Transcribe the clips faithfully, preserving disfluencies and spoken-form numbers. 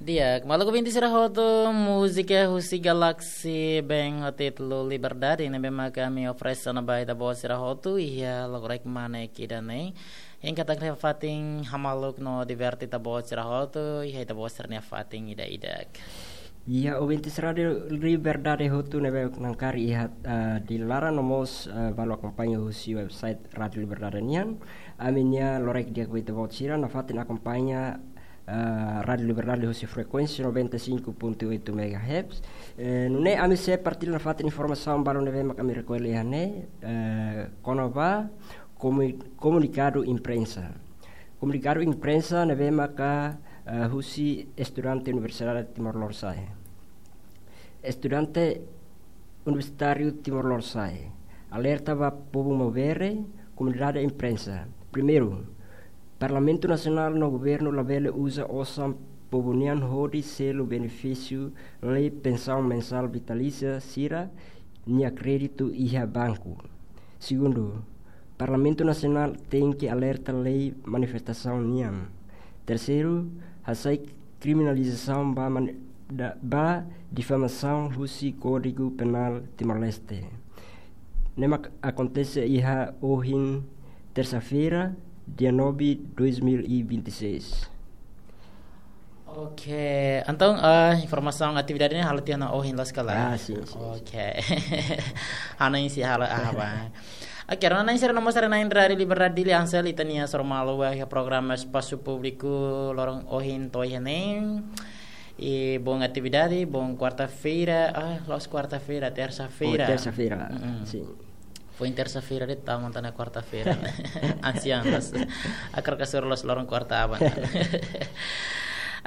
Di'ak, maluk ouvinte sira hotu, múzika husi Galaxy Band ho títulu Liberdade, ne'ebé mak ami oferese ona ba ita-boot sira hotu iha loron ida-ne'e. Hein katak iha fatin hamaluk no diverte ita-boot sira hotu iha ita-boot sira-nia fatin ida-idak. Iha ouvintes Rádiu Liberdade hotu ne'ebé nakari iha, ah, di laran no mós, ah, balu akompaña husi website Rádiu Liberdade nian. Ami-nia loraik di'ak ba ita-boot sira nafatin akompaña, ah, Rádiu Liberdade husi frekuénsia noventa e cinco ponto oito megahertz. Eh, nune'e ami sei partilla nafatin informasaun balu ne'ebé mak ami rekolla iha ne'e, eh, kona-ba komu-, komunikadu imprensa. Komunikadu imprensa ne'ebé maka, eh, husi estudante Universidade Timor Lorosa'e. Estudante Universitáriu Timor Lorosa'e alerta ba povu Maubere, komunidade imprensa. Primeiru, Parlamentu Nasionál no governu labele uza osan povu nian hodi selu benefísiu lei pensaun mensál vitalísia sira-nia kréditu iha banku. Segundu, Parlamentu Nasionál tenke alerta lei manifestasaun nian. Terseiru, hasai kriminalizasaun ba man-, da-, ba difamasaun husi Kódigu Penál Timor-Leste. Ne'e mak akontese iha ohin tersa-feira, dia nove, dois mil e vinte e seis. Oke, entaun, eh, informasaun atividade ne'e halo tiha ona ohin loos ka lae? Ah, sin, sin, sin. Oke. Ha'u hanoin sei halo iha ba. Oke, rona-na'in sira no mós haree-na'in Rádiu Liberdade Dili, Ansel, ita-nia soru malu ba iha programa Espasu Públiku loron ohin to'o iha ne'e. I boa atividade, boa kuarta-feira, ah, la'ós kuarta-feira, tersa-feira. Oh, tersa-feira. Mm-mm. Sin. Foin tersa-feira de'it, tama tan ona kuarta-feira. Ansiang loos. Hakarak hasoru loos loron kuarta aban.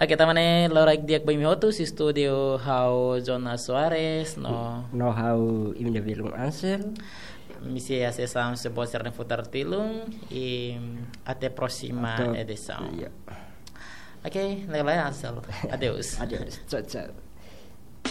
Oke, tanba ne'e loraik di'ak ba imi hotu, husi estúdiu ha'u Jonas Soares, no. No ha'u imi-nia belun Ansel. Ami sei hasees hamutuk ho ita-boot sira-nia futar tilun, i até próxima edição. Até, iya. Oke, ne'e ka lae Ansel. Adeus. Adeus. Tchau, tchau.